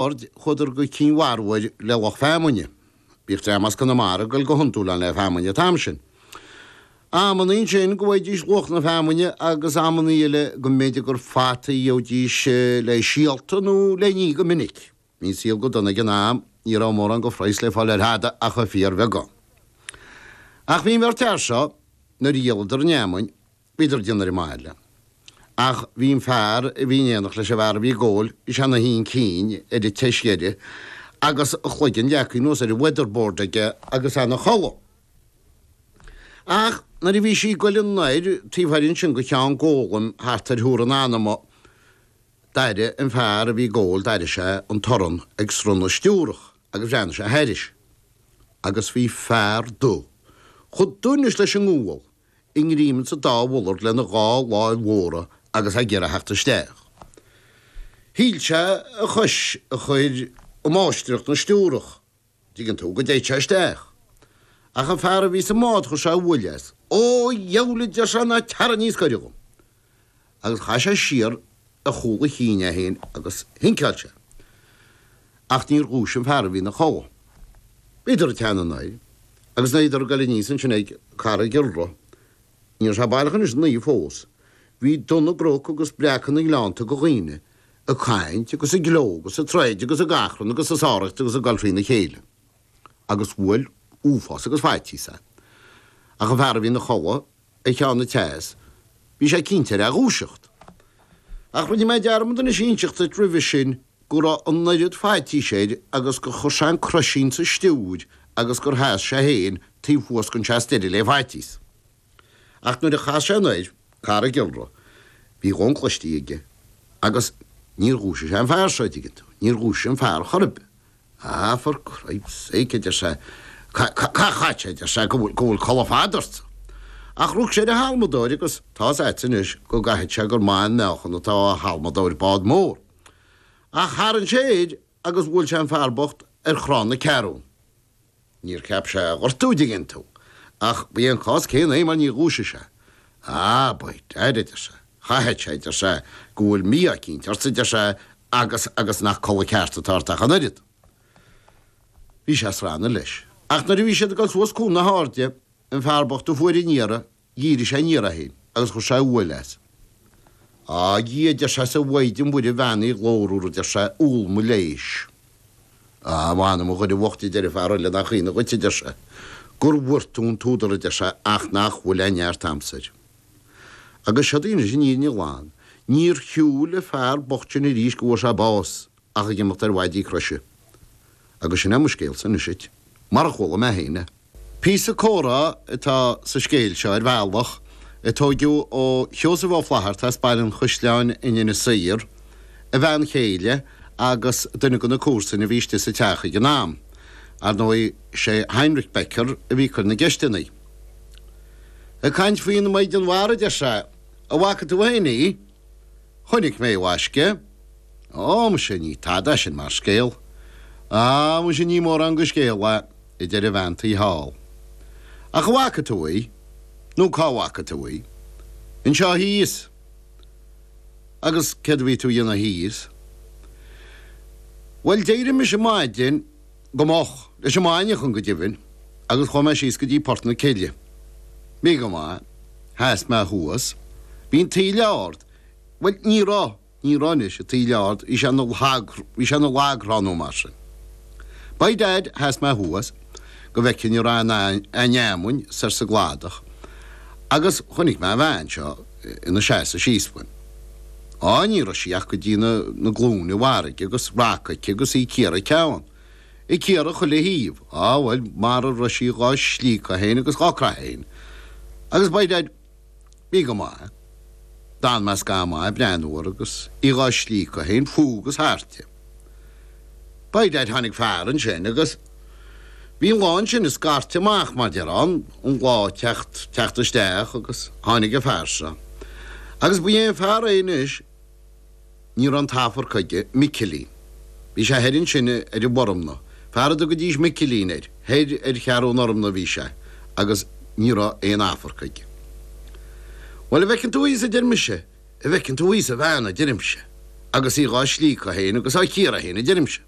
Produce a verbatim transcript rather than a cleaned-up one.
Aird, chuadar go Cinn Mharbhair le lucht feamainne. Bhíodh dream as Conamara ag goil go hiondúil ann le feamainn an t-am sin. Amannaí ansin go bhfaighidís luach na feamainne agus amannaí eile go mb'fhéidir gur fataí a gheobhaidís le síolta nó le ní go minic. Bhí an saol go dona ag an am, ní raibh mórán go phraghas le fáil ar thada ach an fíorbheagán. Ach bhí an bheirt fhear seo, nuair a dhíoladar an fheamainn, bhíodar ag déanamh ar an mbaile. Ach bhí an fear a bhí in éineacht leis an bhfear a bhí ag ól, bhí sé ina shuí chun cinn ar an tseis dheiridh agus a chloigeann leagtha anuas ar an weatherboard aige agus é ina chodladh. Ach nuair a bhí sí ag goil anoir taobh thoir ansin go Ceann Gólaim thart ar Thuar an Anama, d'airigh an fear a bhí ag ól, d'airigh sé an torann ag srannadh stiúrach agus bhreathnaigh sé thairis agus bhí fear dubh chomh dubh anois leis an ngual i ngreim ins an dá mhullard lena dhá láimh mhóra agus é ag iarraidh theacht isteach. Shíl sé a chois a chur i máistreacht na stiúrach, dtuigeann tú, go dtéid sé isteach. Ach an fear a bhí sa mbád chuir sé buille as. Ó, a dheabhail, a deir sé, ná tarraing níos gaire dhom. Agus chaith sé siar ar chúl a chinn é féin agus shinceáil sé. Ach níor dhúisigh an fear a bhí ina chodladh. Bhíodar ag teannadh anoir, agus nuair a bhíodar ag goil aníos ansin ag Carraig Iolra, ní raibh sé baileach anois a naoi fós, bhí dubh na gcnoc agus breacadh na ngleannta go dhaoine ag caint agus ag gleo agus ag troid agus ag achrann agus ag sáraíocht agus ag goil thrína chéile. Agus bhuail uafás agus faitíos é. Ach an fear a bhí ina chodladh ar cheann an tseas, bhí sé cinnte ar a dhúiseacht. Ach rinne mé dearmad anois a inseacht duit roimhe sin go raibh an oiread faitís air agus gur chuir sé an croisín sa stiúir agus gur sheas sé féin taobh thuas den seas deiridh le faitíos. Ach nuair a chas sé anoir Carraig Iolra, bhí a dhóthain cloistí aige agus níor dhúisigh sé an fear seo, a dtuigeann tú, níor dhúisigh an fear chor ar bith. Ah, for cripes sake, a deir sé, cá chait sé, a deir sé, go bhfuil, go bhfuil codladh fada ortsa. Ach rug sé ar a halmadóir agus tá's a'dsa anois go gcaithfidh sé gur maith an meáchan atá á halmadóir bád mór. Ach tharraing sé air agus bhuail sé an fear bocht ar chrann na ceathrún. Níor cheap sé a ghortú, a dtuigeann tú, ach ba é an cás céanna é mar níor dhúisigh sé. Ah, by dad, a deir sé, chaithfeadh sé, a deir sé, go bhfuil mí-ádh eicínt ortsa, a deir sé, agus, agus nach codladh ceart atá ort ach an oiread. Bhí sé ag srannadh leis. Ach nuair a bhí siad ag dul suas Cuan na hAirde, an fear bocht a fuair an iarraidh, dhírigh sé aniar é féin agus chuir sé uaidh as. Á, a Dhia, a deir sé, 's a Mhaighdean Mhuire bheannaithe ghlórmhar, a deir sé, úll mo leighis. Á, mh'anam a Dhoire bhoicht, a deir an fear eile, nach ionadh dhuit, a deir sé, gur bhfuair tú an t-údar, a deir sé, ach nach bhfuil aon neart a'msa air. Agus seod í anois an fhírinne ghlan, níor shiúil an fear bocht sin arís go bhfuair sé bás ach ag imeacht ar mhaidí croise. Agus sin é mo scéalsa anois duit, mar a chuala mé féin é. Píosa comhrá atá sa scéal seo ar bhealach, a tóigeadh ó Sheosamh Ó Flaithearta as Baile an Chaisleáin in Inis Oírr, a bhean chéile agus duine de na comharsain a bhí istigh sa teach ag an am. Ar ndóigh, sé Heinrich Becker a bhí ag cur na gceisteanna. Ag caint faoin Mhaighdean Mhara, a deir sé, an bhfaca tú féin í? Chonaic mé í, a mhaisce. Ó, muise, ní tada é sin mar scéal. Á, muise, ní mórán go scéal é. a deir an bhean tí thall. Ach an bhfaca tú í? Nó cá bhfaca tú í? Anseo thíos. Agus céard a bhí tú a dhéanamh thíos? Bhuel, d'éirigh mise maidin go moch, leis an mbainneachan go deimhin, agus chuaigh mé síos go dtí Port na Cille. Bhí go maith. Sheas mé thuas. Bhí an taoille ard. Bhuel, ní raibh. Ní raibh anois, an taoille ard, bhí sé ina lag, bhí sé ina lagthrá nó mar sin. By dad, sheas mé thuas go bhfeicfinn an raibh aon fheamainn soir sa gcladach agus chonaic mé an bhean seo ina seasamh síos uaim. Á, ní raibh sí ach go dtí na, na glúine i bhfarraige agus raca aici agus í ag cíoradh a ceann. Ag cíoradh chuile thaobh. Á, bhuel, mara raibh sí dhá slíocadh féin agus dhá croitheadh féin. Agus by dad, Bhí go maith. D'fhan mé scaitheamh maith ag breathnú uirthi agus í dhá slíocadh féin fúithi agus thairti. By dad tháinig fear ansin agus bhí an lá ansin ag scairteadh amach mar déarfá, an lá ag teacht, teacht isteach agus tháinig an fear seo. Agus ba é an fear é anois. Ní raibh an t-amharc aige, Micilín. Bhí sé thoir ansin ar an bhFormna, fear a dtugaidís Micilín air, thoir ar Cheathrú an Fhormna a bhí sé agus ní raibh aon amharc aige. Bhuel, an bhfeiceann tú thíos, a deir mise, an bhfeiceann tú thíos an bhean, a deirimse. Agus í dhá slíocadh féin agus á cíoradh féin, a deirimse.